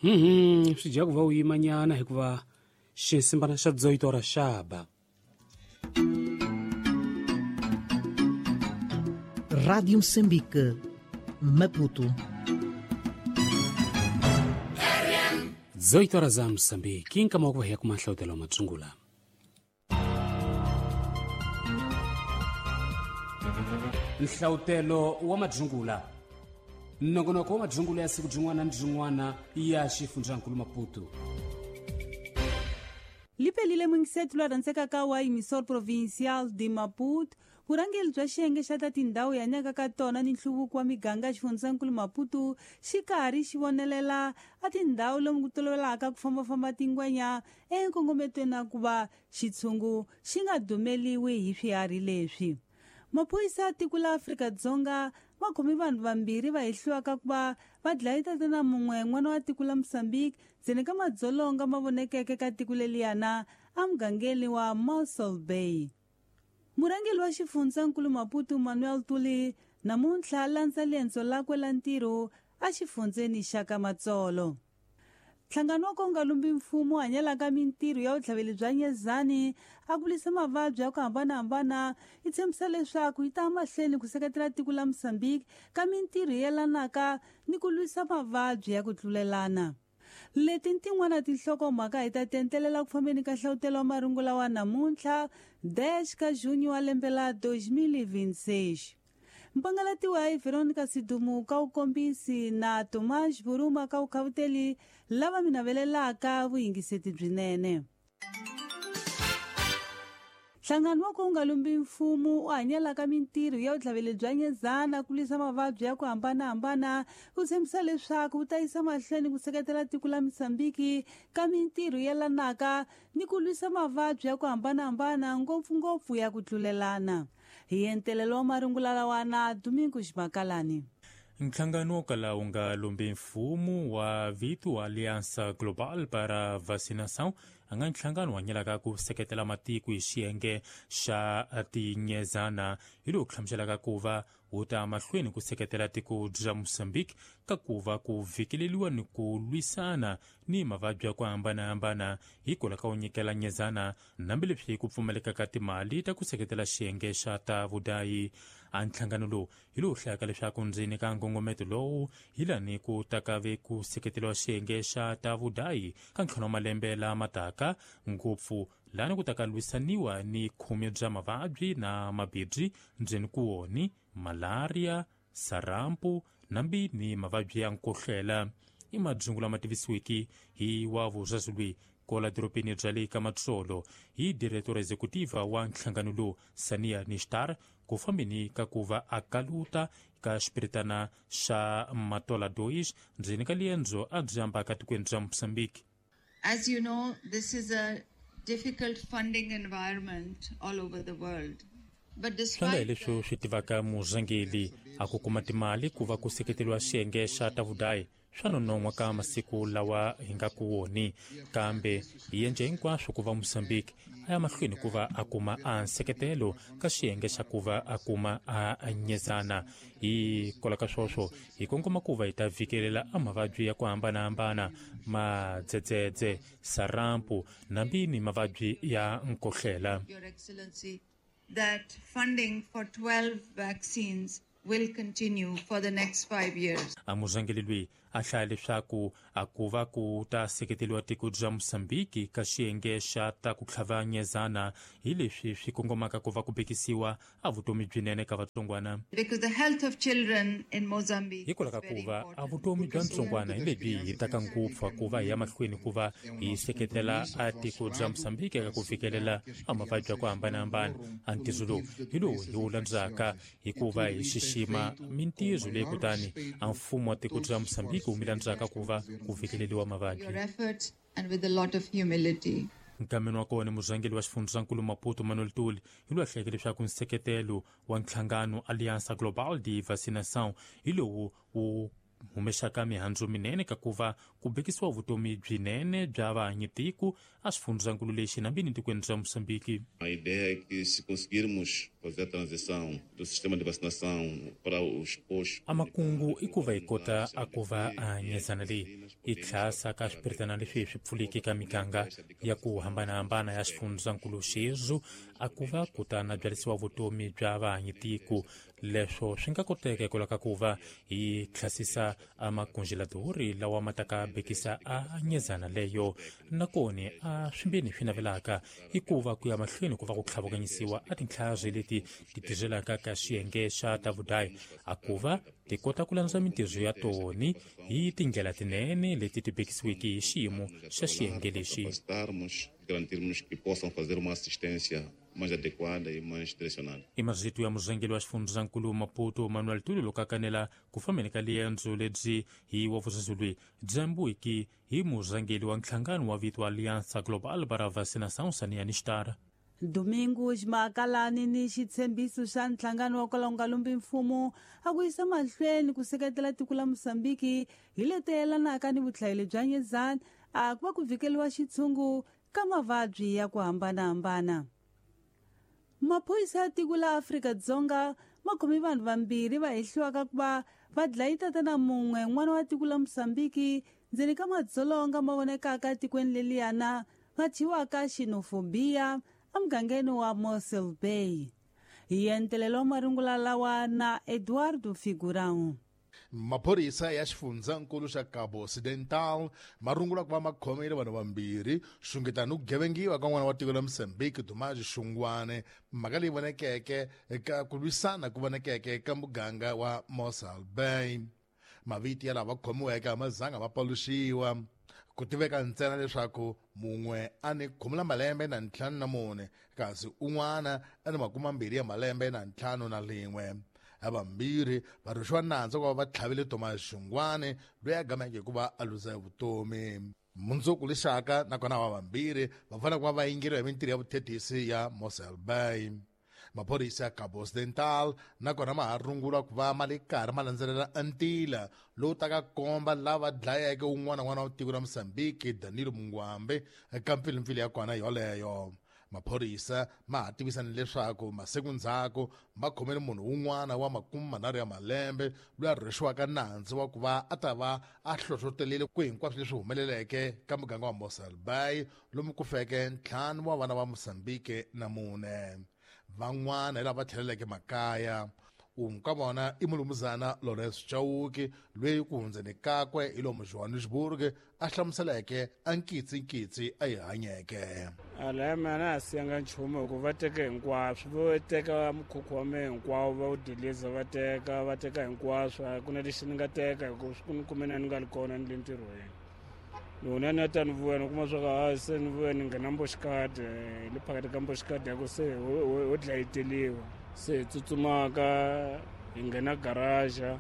Swi dya ku va u yimanyana hikuva xinsimbana xa dzoyito ra xaba. Rádio Moçambique, Maputo. 18 horas za Moçambique, nkama wa ku va hi ya kuma nhlawutelo wa matsungula. Nhlawutelo wa madzungula, nongonoko wa madzungula ya siku byin'wana ni byin'wana ya xifundzankulu Maputo. Liphelile mwingisetu lwa rhandzekaka wa emissor provincial de Maputo, vurhangeri bya xiyenge xa ta tindhawu hi hanyaka ka tona ni nhluvuko wa miganga ya xifundzankulu Maputo xi karhi xi vonelela a tindhawu lomu ku tolovelaka ku fambafamba tingwenya enkongometweni wa ku va xitshungu xi nga dumeliwi hi swiharhi leswi. Maphorisa ya tiko la Afrika-Dzonga va khome vanhu vambirhi va hehliwaka ku va va dlaye tatana mun'we n'wana wa tiko la Mozambique ndzeni ka madzolonga ma vonekeke ka tiko leliyana emugangeni wa Mossel Bay. Murhangeri wa xifundzankulu Maputo Manuel Tuli namuntlha a landza liendzo lakwe la ntirho exifundzeni xa ka Matsolo. Nhlangano wa ka wu nga lumbi mfumo hanyelaka mintirho ya vutlhaveli bya nyezani a ku lwisa mavabyi ya ku hambanahambana yi tshembisa leswaku yi ta mahlweni ku seketela tiko la Mozambique ka mintirho yelanaka ni ku lwisa mavabyi ya ku tlulelana. Leti ni tin'wana tinhlokomhaka hi ta tentelela ku fambeni ka nhlawutelo wa marungula wa namuntlha 10 ka junho wa lembe la 2026. Mpangalatiwa hi Veronica Sidumu ka vukombisi na Tomás Buruma ka vukhavuteli lava mi navelelaka vuyingiseti byinene. Nhlangano wa ku wu nga lumbi mfumo u hanyelaka mintirho ya vutlhaveli bya nyezana ku lwisa mavabyi ya ku hambanahambana wu tshembisa leswaku wu ta yisa mahlweni ku seketela tiko la Mozambique ka mintirho yelanaka ni ku lwisa mavabyi ya ku hambanahambana ngopfungopfu ya ku tlulelana. Hi entelelo wa marungula lawa na Domingos Makalani. Nhlangano wo kala wu nga lumbi mfumo wa vito Aliança Global para Vacinação a nga nhlangano wa nyelaka ku seketela matiko hi xiyenge xa tinyezana hi lowu hlamuselaka ku va wu ta mahlweni ku seketela tiko bya Mozambique ka ku va ku vhikeleliwa ni ku lwisana ni mavabyi ya ku hambanahambana hikwalaho ka ku nyikela nyezana hambileswi ku pfumaleka ka timali ta ku seketela xiyenge xa ta vudayi. A nhlangano lowu hi lowu hlayaka leswaku ndzeni ka nkongometo lowu hi lani ku taka ve ku seketeriwa xiyenge xa ta vudayi ka ntlhanu wa malembe lama taka, ngopfu lani ku taka lwisaniwa ni khume bya mavabyi na mabibyi ndzeni ku woni malaria, sarampu nambi ni mavabyi ya nkohlela. I madzungu lama tivisiweke hi wa vuzazulwi kola dorobeni bya le ka Matsolo hi diretora executiva wa nhlangano lowu Sania Nishtar ku fambeni ka ku va a kaluta ka xipiritana xa Matola 2 ndzeni ka liendzo a byi ambaka tikweni bya Mozambique. As you know, this is a difficult funding environment all over the world. Swi nga hi leswi swi tivaka murhangeri a ku kuma timali ku va ku seketeriwa xiyenge xa ta vudayi swa nonon'hwa ka masiku lawa hi nga ku woni, kambe hi endle hinkwaswo ku va Mozambique a ya mahlweni ku va a kuma a nseketelo ka xiyenge xa ku va a kuma a nyezana. Hi kola ka swoswo hi kongoma ku va hi ta vhikelela a mavabyi ya ku hambanahambana, madzedzedze, sarampu nambi ni mavabyi ya nkohlela. Your Excellency, that funding for 12 vaccines will continue for the next 5 years. A murhangeri loyi a hlaya leswaku a ku va ku ta seketeriwa tiko bya Mozambique ka xiyenge xa ta ku tlhava nyezana hi leswi swi kongomaka ku va ku bekisiwa a vutomi byinene ka vatsongwana. Because the health of children in Mozambique hikwalaho ka ku va a vutomi bya ntsongwana hi lebyi hi taka ngopfu ku va hi ya mahlweni ku va hi seketela a tiko bya Mozambique eka ku fikelela a mavabyi ya ku hambanahambana. A ntirho lowu hi lowu hi wu landzaka hikuva hi xixima mintirho leyi kutani a mfumo wa tiko bya Mozambique wu mi landzaka ku va ku fikeleriwa mavabyi. Your efforts and with a lot of humility. Nkameni wa kona murhangeri wa xifundzankulu Maputo Manuel Tuli hi loyi a hlayeke leswaku nseketelo wa nhlangano Aliança Global de Vacinação hi lowu wu humexaka mihandzu minene ka ku va ku bekisiwa vutomi byinene bya vahanyitiko a xifundzankulu lexi nambini tikweni bya Mozambique. A ideia é que se conseguirmos Fazer a transição do sistema de vacinação para os postos. A makungu i ku va hi kota a ku va a nyezana leyi yi tlhasa ka swipiritana leswi swi pfuliki ka miganga ya ku hambanahambana ya xifundzankulu xexo a ku va kutana byarisiwa vutomi bya vahanyitiko. Leswo swi nga koteka hikwalaho ka ku va hi tlhasisa a makunjeladori lawa ma ta ka bekisa a nyezana leyo. Nakoni a swimbeni swi navelaka i ku va ku ya mahlweni ku va ku tlhavukanyisiwa a tintlhari leti ti tirhelaka ka xiyenge xa ta vudayi a ku va ti kota ku landza mintirho ya toni hi tindlela tinene leti ti bekisiweke hi xiyimo xa xiyenge lexi. Garantirmos que possam fazer uma assistência mais adequada e mais direcionada. I mazito ya murhangeri wa xifundzankulu Maputo Manuel Tulo loko a kanela ku fambeni ka liendzo lebyi hi wa vusazulwi dyambuiki hi murhangeri wa nhlangano wa vito Aliança Global para a Vacinação Sania Nishtar. Domingo Makalani ni xitshembiso xa nhlangano wa kwalaho nga lumbi mfumo a ku yisa mahlweni ku seketela tiko la Mozambique hi leti yelanaka ni vuhlayelo bya nyezana a ku va ku vhikeliwa xitshungu ka mavabyi ya ku hambanahambana. Maphorisa ya tiko la Afrika-Dzonga ma khome vanhu vambirhi va hehliwaka ku va va dlaye tatana mun'we n'wana wa tiko la Mozambique ndzeni ka madzolonga ma vonekaka etikweni leliyana va thyiwaka xenophobia emugangeni wa Mossel Bay. Hi entelelo wa marungula lawa na Eduardo Figurão. Maphorisa ya xifundzankulu xa Cabo Occidental ma rungula ku va ma khomile vanhu vambirhi xungeta ni ku gevengiwa ka n'wana wa tiko la Mozambique Dumaji Xungwane, mhaka leyi vonekeke eka ku lwisana ku vonekeke ka muganga wa Mossel Bay. Mavito ya lava khomiweke a ma zanga ma paluxiwa, ku tiveka ntsena leswaku mun'we a ni 14 kasi un'wana a ni 21. Havambirhi va rhwexiwa nandzu ku va va tlhavile Thomas Xungwane loyi a gameke hikuva a luza vutomi. Mundzuku lexaka nakona va vambirhi va fanele ku va va yingeriwa hi mintirho ya vuthethisi ya Mossel Bay. Maphorisa ya Cabo Occidental nakona ma ha rungula ku va ma le karhi ma landzelela ntila lowu taka komba lava dlayeke un'wana n'wana wa tiko ra Mozambique Danilo Mungwambe eka mpfilimpfili ya kona yoleyo. Maphorisa ma ha tivisa ni leswaku masiku ndzhaku ma khomele munhu un'wana wa 30 ya malembe loyi a rhwexiwaka nandzu wa ku va a ta va a hlohlotelile ku hinkwaswo leswi humeleleke ka muganga wa Mossel Bay lomu ku feke 5 wa vana va Mozambique na 4. Van'wana hi lava tlheleleke makaya. Un'we ka vona i mulumuzana Lawrence Chauke loyi ku hundzeni kakwe hi lomu Johannesburg a hlamuseleke a nkitsinkitsi a yi hanyeke. A laya mina a siyanga nchumu hikuva va teke hinkwaswo, vo teka mukhukhu wa mehe hinkwawo va wu diliza, va teka hinkwaswo, a ku na lexi ni nga teka hikuva swi ku ni kume na ni nga ri kona ni le ntirhweni. Loko ni ta ni vuya ni kuma swa ku ha se ni vuya ni nghena mboxikadi le phakathi ka mboxikadi ya ku se ho dlayeteliwa. Se hi tsutsumaka hi nghena garaja,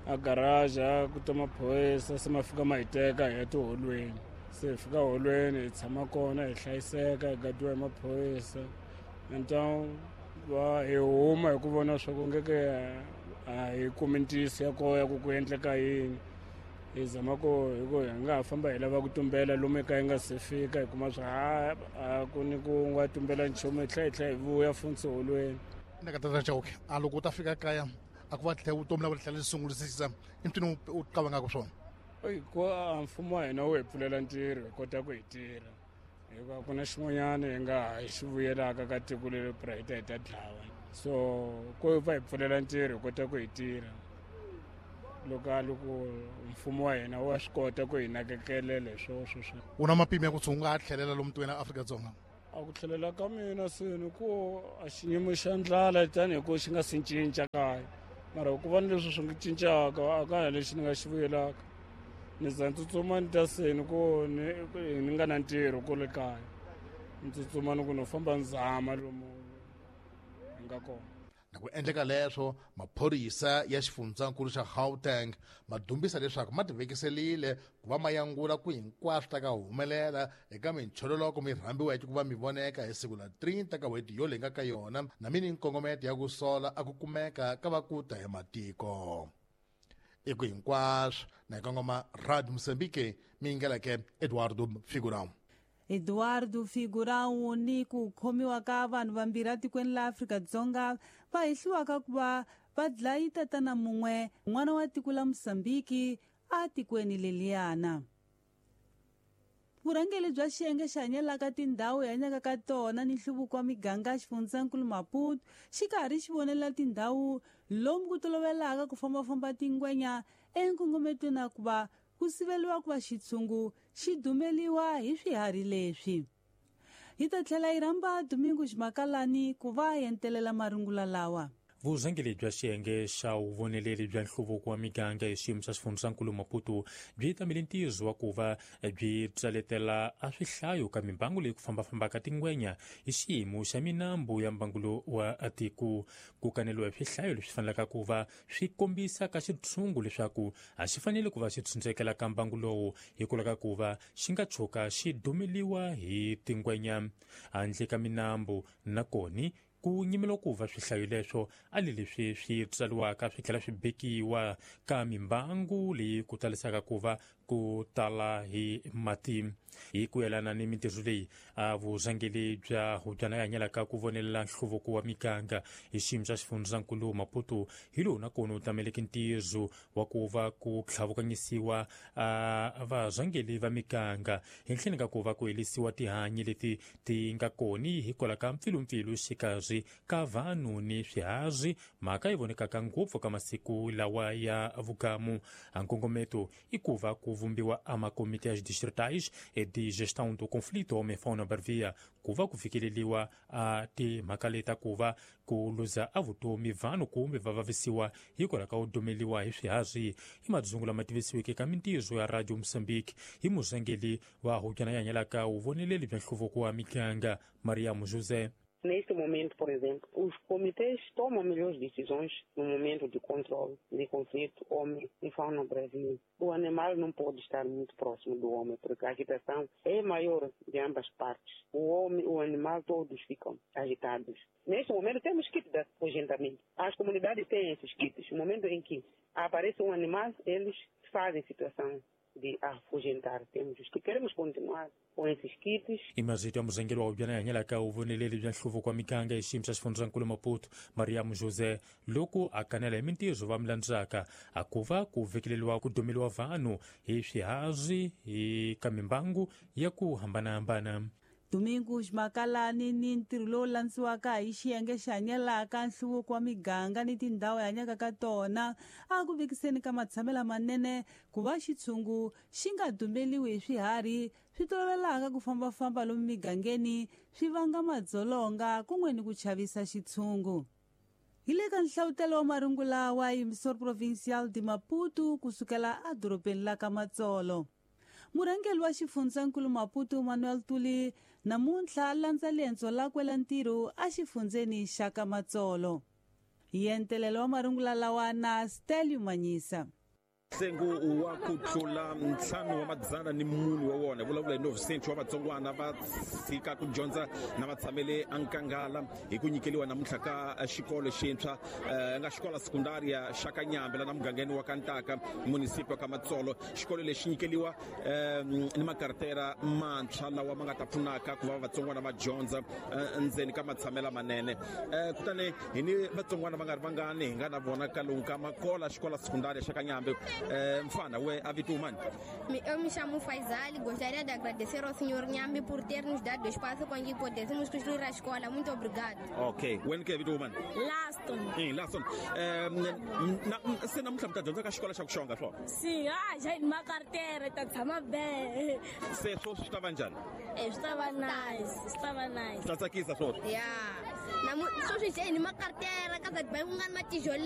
a garaja ku ta maphorisa se ma fika ma hi teka hi ya tiholweni. Se hi fika holweni hi tshama kona hi hlayiseka hi gadiwa hi maphorisa. Então va hi huma hi ku vona swa ku ngeke a hi kumi ntiyiso ya koho ya ku ku endleka yini. Hi zama ku hi ku hi nga ha famba hi lava ku tumbela lomu ekaya hi nga se fika hi kuma swa a ku ni ku nga tumbela nchumu hi tlhela hi vuya funtsi holweni. Na ka tata Chauke a loko u ta fika kaya a ku va tlhela vutomi la va tlhela sungurisisa i mpfini u qavangaka swona. Ku mfumo wa hina wu hi pfulela ntirho hi kota ku hi tirha hikuva ku na xin'wanyana hi nga ha xi vuyelaka ka tiko leri pra hi ta hi ta dlawa, so ku va hi pfulela ntirho hi kota ku hi tirha. Loko mfumo wa hina wa swi kota ku hi nakekelela hi swoswo swo. U na mapimo ya ku tshunga a tlhelela lomu tikweni ra Afrika-Dzonga? A ku tlhelela ka mina seni ku a xiyimo xa ndlala tanihi ku xi nga si cinca kaya, mara ku va ni leswi swi nga cincaka a ka ha lexi ni nga xi vuyelaka. Ni za ni tsutsuma ni ta seni ku ni nga na ntirho kule kaya, ni tsutsuma ni ku no famba ni zama lomu hi nga kona. Na ku endleka leswo maphorisa ya xifundzankulu xa Gauteng ma dumbisa leswaku ma tivekiselile ku va ma yangula ku hinkwaswo ta ka humelela eka minchololoko mi rhambiweke ku va mi voneka hi siku la 30 ka n'hweti yo leyi nga ka yona na mini nkongometo ya ku sola a ku kumeka ka va ku ta hi matiko. I ku hinkwaswo na hi kongoma Radio Mozambique mi yingeleke Eduardo Figurão. Eduardo Figurão ni ku khomiwa ka vanhu vambirhi atikweni la Afrika-Dzonga va hehliwaka ku va va dlayi tatana mun'we n'wana wa tiko la Mozambiki atikweni leliyana. Vurhangeri bya xiyenge xi hanyelaka tindhawu hi hanyaka ka tona ni nhluvuko wa miganga xifundzankulu Maputo xi karhi xi vonelela tindhawu lomu ku tolovelaka ku fambafamba tingwenya enkongometweni wa ku va ku siveliwa ku va xitshungu xi dumeliwa hi swiharhi leswi. Hi ta tlhela hi rhamba Domingo Ximakalani ku va entelela marungula lawa. Vurhangeri bya xiyenge xa vuvoneleri bya nhluvuko wa miganga hi xiyimo xa xifundzankulu Maputo byi tamele ntirho wa ku va byi tsaletela a swihlayo ka mimbangu leyi ku fambafambaka tingwenya hi xiyimo xa minambu ya mbangulo wa tiko. Ku kaneliwa hi swihlayo leswi fanelaka ku va swi kombisa ka xitshungu leswaku a xi fanele ku va xi tshunxekela ka mbangu lowu hikwalaho ka ku va xi nga tshuka xi dumeliwa hi tingwenya handle ka minambu. Nakoni ku nyimela ku va swihlayo leswo a le leswi swi tsariwaka swi tlhela swi bekiwa ka mimbangu leyi ku talisaka ku va ku tala hi mati. Hi ku yelana ni mintirho leyi a vurhangeri bya hubyana ya hanyelaka ku vonelela nhluvuko wa miganga hi xiyimo xa xifundzankulu Maputo hi lowu nakona wu tameleke ntirho wa ku va ku tlhavukanyisiwa varhangeri va miganga hi ntlheni ka ku va ku helisiwa tihanyi leti ti nga koni hikwalaho ka mpfilumpfilu xikarhi ka vanhu ni swiharhi, mhaka yi vonekaka ngopfu ka masiku lawa ya vugamu. A nkongometo i ku va ku vumbiwa a makomiti ya distritais de gestão do conflito homem-fauna bravia ku va ku fikeleliwa a timhaka leta ku va ku luza a vutomi vanhu kumbe va vavisiwa hikwalaho ka ku dumeliwa hi swiharhi. I madzungu lama tivisiweke ka mintirho ya Radio Mozambique hi murhangeri wa hubyana ya hanyelaka vuvoneleli bya nhluvuko wa miganga Mariam José. Neste momento, por exemplo, os comitês tomam melhores decisões no momento de controle de conflito homem e fauna bravia. O animal não pode estar muito próximo do homem, porque a agitação é maior de ambas partes. O homem e o animal todos ficam agitados. Neste momento temos kits de afugentamento. As comunidades têm esses kits. No momento em que aparece um animal, eles fazem situação de afugentar. Temos os que queremos continuar com esses kits. Imazito ya murhangeri wa hubyana ya hanyelaka vuvoneleli bya nhluvuko wa miganga hi xiyimo xa xifundzankulu Maputo Mariam José loko a kanela hi mintirho va milandzaka a ku va ku vekeleliwa ku dumeliwa vanhu hi swiharhi hi ka mimbangu ya ku hambanahambana. Domingo Ximakalani ni ntirho lowu landziwaka hi xiyenge xi hanyelaka nhluvuko wa miganga ni tindhawu hi hanyaka ka tona a ku vekiseni ka matshamelo manene ku va xitshungu xi nga dumeliwi hi swiharhi swi tolovelaka ku fambafamba lomu migangeni swi vanga madzolonga kun'we ni ku chavisa xitshungu. Hi le ka nhlavutelo wa marungula wa Emissor Provincial de Maputo kusukela edorobeni la ka Matsolo. Murhangeri wa xifundzankulu Maputo Manuel Tuli namuntlha a landza lendzo lakwe la ntirho exifundzeni xa ka Matsolo. Hi entelelo wa marungula lawa na Stelio Manyisa. Ntsengo wa ku tlula 504 wa wona vulavula hi 9 wa vatsongwana va tshika ku dyondza na va tshamele enkangala hi ku nyikeliwa namuntlha ka xikolo xintshwa nga xikola sekundaria xa Kanyambe la na mugangeni wa Kantaka municipio ka Matsolo. Xikolo lexi nyikeliwa ni makartera mantshwa lawa ma nga ta pfunaka ku va vatsongwana va dyondza ndzeni ka matshamela manene. Kutani hi ni vatsongwana va nga ri vangani hi nga na vona ka lomu ka Makola xikola sekundaria xa Kanyambe. Mfana, we avitu mani? Eu me chamo Faisal e gostaria de agradecer ao senhor Nhambi por ter nos dado espaço com que pudéssemos construir a escola. Muito obrigado. Ok. Wen ke avitu mani? Laston. Laston. Se namuntlha mi ta dyondza ka xikolo xa ku xonga swona? Sim, já uma carteira, ta tshama bem. Se swo swi ta va njhani? Swi ta va nice, swi ta va nice. Swi ta tsakisa swona? Yeah. Sweswi hi ni makartera ka za ku nga ni matijolo.